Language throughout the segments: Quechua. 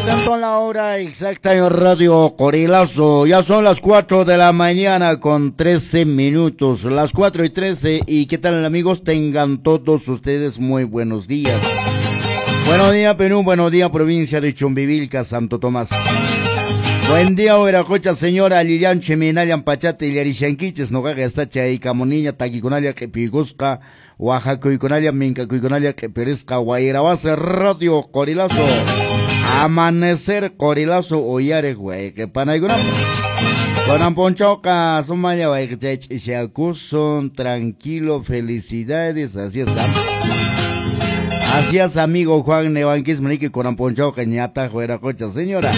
Atento a la hora exacta en Radio Corilazo. Ya son las 4 de la mañana con 13 minutos. Las 4:13. ¿Y qué tal, amigos? Tengan todos ustedes muy buenos días. Buenos días, Perú. Buenos días, provincia de Chumbivilca, Santo Tomás. Buen día, Huiracocha, señora Lilian Chiminayan Pachate, Yarishanquiches, Nogaga está Chay, Camonilla, Taquiconalla, Quepigusca, Oaxaca, Mincacuyconalla, Queperisca, Guairabase, Radio Corilazo. Amanecer Corilazo, Oyare, güey, que panaiguna. Con Ponchoca, Sumaya, tranquilo, felicidades, así está. Así es, amigo Juan Nevanquis, Manique, con Ponchoca, ñata, Huiracocha, señora.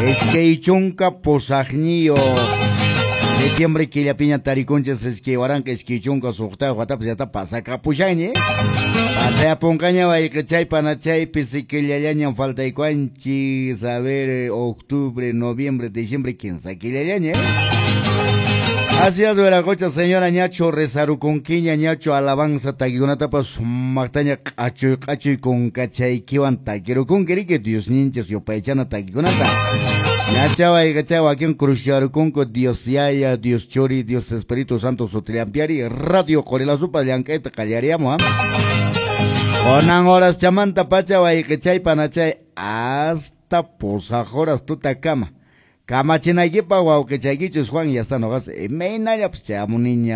Es que chunka posajnio. Septiembre killapiña tarikunchis iskay waranqa iskay chunka suqta watapas yata pasakapushani. Pasayapunkaña wayqichay panachaypi siquillallaña faltaykuanchis. A ver, octubre, noviembre, diciembre, 15 killallaña. Así es, Huiracocha, señora ñacho rezarukunkiña ñacho alabanza takikunatapas maqtaña q'achuy q'achuy kunkachaykiwan takirukunki riki Dios ninchis yupaychana takikunata. Ñacha wayqichay wakin cruzcharukunku Dios Yaya, Dios Churi, Dios Espíritu Santo sutillampiari Radio Corilazupa llank'ayta qallariyamu, Kunan horas chamanta pacha wayqichay panachay hasta pusaq horas tutakama. Kamachinaykipa wawqichaykichus Juan ya está noqas imaynalla pues chayamuniña.